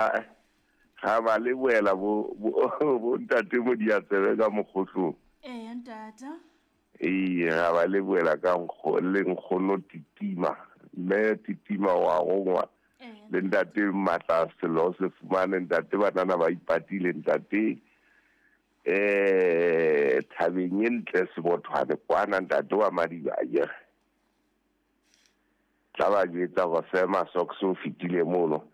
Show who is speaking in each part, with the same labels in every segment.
Speaker 1: Ga ba lebohela bo bo bo ntate Modiatsebe ka mokgohlong.
Speaker 2: Eya ntate.
Speaker 1: Ee, ga ba lebohela ka nkgo le nkgono Titima. Mme Titima wa gongwa le ntate Matla Selo se fumane ntate banana ba ipatile ntate eh thabeng e ntle sebothwane kwana ntate wa Madiba akere. Tla ba jwetsa hore Sema Socks o fetile mono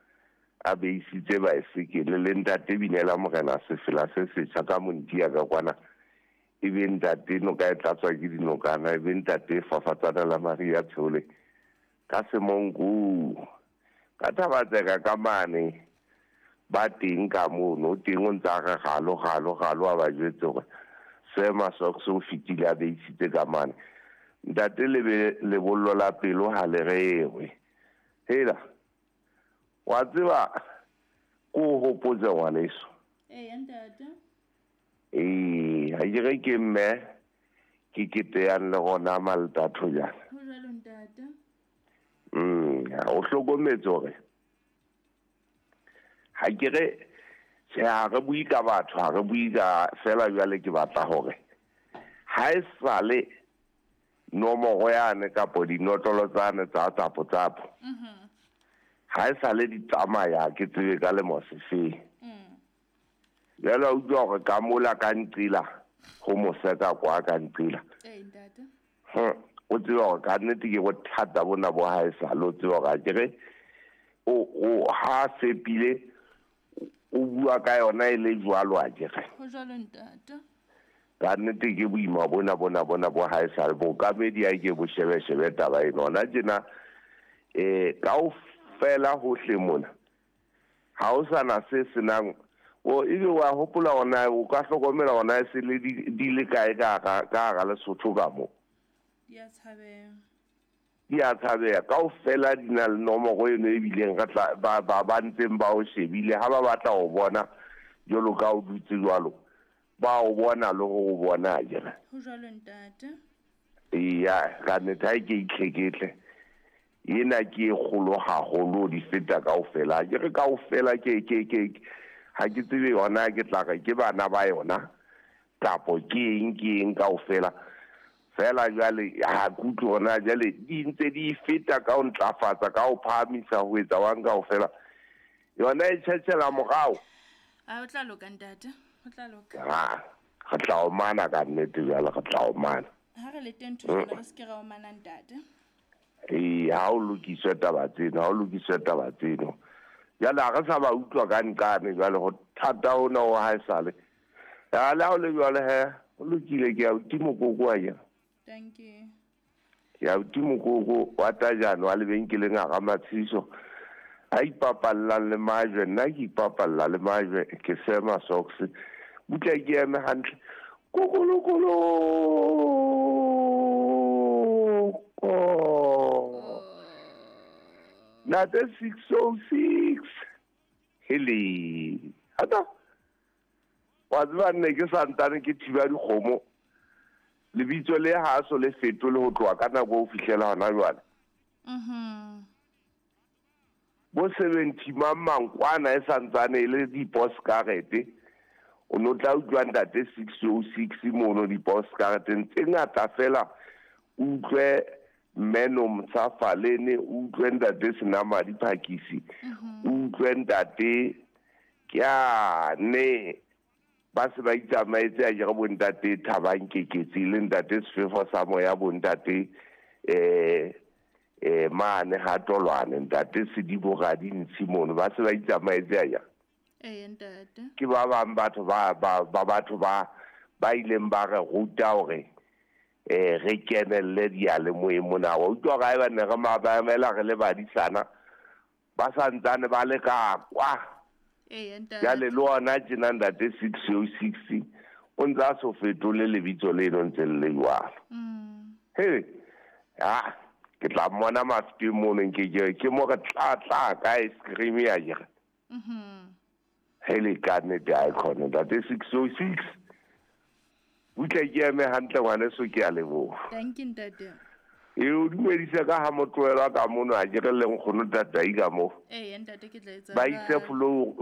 Speaker 1: a beisitse baesekele le ntate Binela Morena sefela se setjha ka Montia ka kwana e be ntate noka e tlatswa ke dinokana e be ntate fafatsana la Maria Tsheole ka Semonku Ka Thabatseka ka mane ba teng ka mono, o teng o ntse a re galo, galo, galo a ba jwetse hore Sir Masocks o fetile a beisitse ka mane. Ntate lebe lebollo la pelo ha le rerwe. Hela, wa tseba ko o hopotse ngwaneso.
Speaker 2: Eya ntate.
Speaker 1: Ee, ha ke re ke mme ke keteyang le gona Maltatho jana.
Speaker 2: Ho jwalo ntate.
Speaker 1: O hlokometse hore ha ke re tjhe ha re bue ka batho ha re bue ka fela jwale ke batla hore ha e sale nomoro yane kapo dinotlolo tsane tsa tsapo tsapo ha e sale di tsamaya ke tsebe ka lemo sefeng. Jwale wa utlwa hore ka mola ka nqila ho moseka kwa ka nqila. O tseba hore ka nnete ke bothata bona bo ha e sale o tseba hore akere o ha sepile o bua ka yona e le jwalo akere.
Speaker 2: Ho jwalo ntate.
Speaker 1: Ka nnete ke boima bona bona bona bo ha e sale bookamedi a ke bo shebe shebe taba ena hona tjena kaofela hohle mona. Ha ho sa na se se nang o ebe wa hopola hore na o ka hlokomela hore na e se le di, di le kae ka hara ka hara Lesotho ka mo.
Speaker 2: Di a tshabeha.
Speaker 1: Di a tshabeha. Kaofela di na le nomoro eno e bileng re tla ba ba ba ntseng ba o shebile ha ba batla ho bona jwalo ka o dutse jwalo ba o bona le ho o bona akere.
Speaker 2: Ho jwalo ntate.
Speaker 1: Eya, ka nnete ha e ke itlheketle. Ena ke e kgolo haholo di feta kaofela. Ha ke re kaofela ke ke ke ha ke tsebe yona ke tla re ke bana ba yona kapo ke eng ke eng kaofela. Feela jwale ha ke utlwe hore na jwale di ntse di feta ka ho ntlafatsa ka ho phahamisa ho etsa wang kaofela. Yona e tjhetjhela morao.
Speaker 2: A o tla loka ntate, o tla loka.
Speaker 1: Ha re tla omana ka nnete jwale re tla omana.
Speaker 2: Ha re le teng ntho jwale re se ke ra omana ntate.
Speaker 1: Ee, ha o lokiswe taba tseno, ha o lokiswe taba tseno. Jwale ha re sa ba utlwa ka nqane jwale ho thata hona ho haesale. Ya le ha o le jwale he, ho lokile ke ya uti mokoko wa kere.
Speaker 2: Thank you.
Speaker 1: Ke ya uti mokoko wa tajane wa lebenkeleng a ga matshiso. A ipapallang le majwe, nna ke ipapalla le majwe, ke sema socks. Butle ke eme hantle. Kokolokolo. Nate 606. Hele. Hata. Wa tseba nne ke santane ke thiba dikgomo. Lebitso le ha so le fetole ho tloha ka nako ho fihlela hona jwale. Bo 70 mang mang kwana e santsane e le diposkarete. O no tla utlwa ntate 606 mono diposkareteng tse ngata fela. Utlwe mme Nomsa Falene, utlwe ntate Senamadi Phakisi, utlwe ntate Kyane. Ba se ba itsamaetse a kere bo ntate Thabang Keketsi le ntate Sefefo sa Moya bo ntate mane ha Tolwane ntate Sedibo Radintshi mono ba se ba itsamaetse a kere.
Speaker 2: Ee ntate.
Speaker 1: Ke ba bang batho ba ba ba batho ba ba ileng ba re ruta hore re kenelle diyalemoyeng mona. Wa utlwa hore haeba ne re mamela re le badisana ba santsane ba le ka kwa.
Speaker 2: Ee ntate.
Speaker 1: Jwale le ona tjena ntate 606 o ntse a so fetole lebitso leno ntse le le jwalo. He, ha ke tla mmona mafeteng mono nke ke ke mo re tla tla ka ice cream ya kere. He le ka nnete ha e khone ntate 606. Butle ke eme hantle ngwaneso ke a leboha.
Speaker 2: Thank you ntate.
Speaker 1: E o dumedise ka ha motlohelo ka mono ha ke re le nkgono tatai ka mo.
Speaker 2: Ee ntate ke tla etsa.
Speaker 1: Ba ise flow